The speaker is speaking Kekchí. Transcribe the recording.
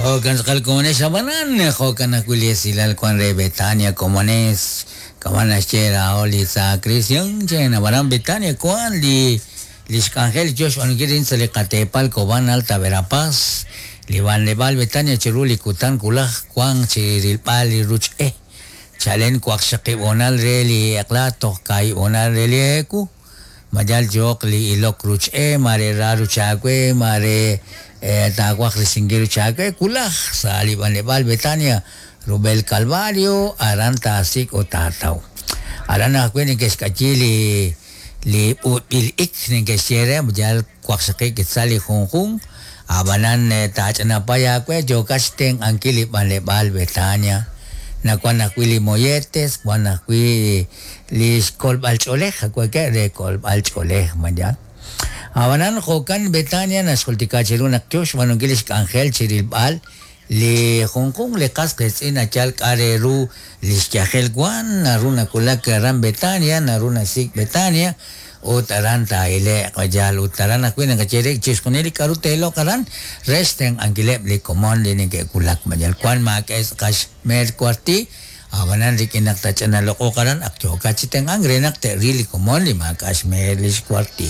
Jo'kan tz'aqal komonex ab'anan jo'kan ajwi' li esilal wan re Betania komones kama' naxye laa'o li Sacristian che ab'anan Betania wan li lix k'anjel yo xb'aanunkil rin sa' li qateepal Cobán Alta Verapaz li b'anleb'aal Betania chiru li kutan wulaj wan chi rilb'al li ruch e chalen waqxaqib' hoonal re li eq'la toj kaahib' hoonal re li eewu mayal yooq li ilok ruch e mare ra ruch aawe mare taawaj risinkil ruch aawe wulaj sa' li b'anleb'aal Betania rub'el Calvario aran taasik' ut taataw aran ajwi' neke'xk'ayi li li b'ut'b'il ik neke'xye re yal waqxaqib' quetzal li junjunq ab'anan taach'anapay aawe yookat xtenq'ankil li b'anleb'aal Betania nawan ajwi' li molletes wan ajwi' li xkolb'al ch'oolej aweke' re kolb'al ch'oolej mayan ab'anan jo'kan Betania naxjultika chiru naq yo xb'aanunkil li xk'anjel chi rilb'al li junjunq li qas qiitz'in nachal k'a' re ru li xyajel wan naru nawulak aran Betania naru nasik' Betania ut aran taa'ile'q yal ut aran ajwi' naqaye re chixjunil li k'a'ru teeloq aran re xtenq'ankileb' li komon li neke'wulak mayal wan maak'e tz'aqal xmeer kuarti ab'anan rik'in naq tach'analoq'oq aran ak yookat chi tenq'ank re naq te'ril li komon li maak'a' xmeer li xkuarti.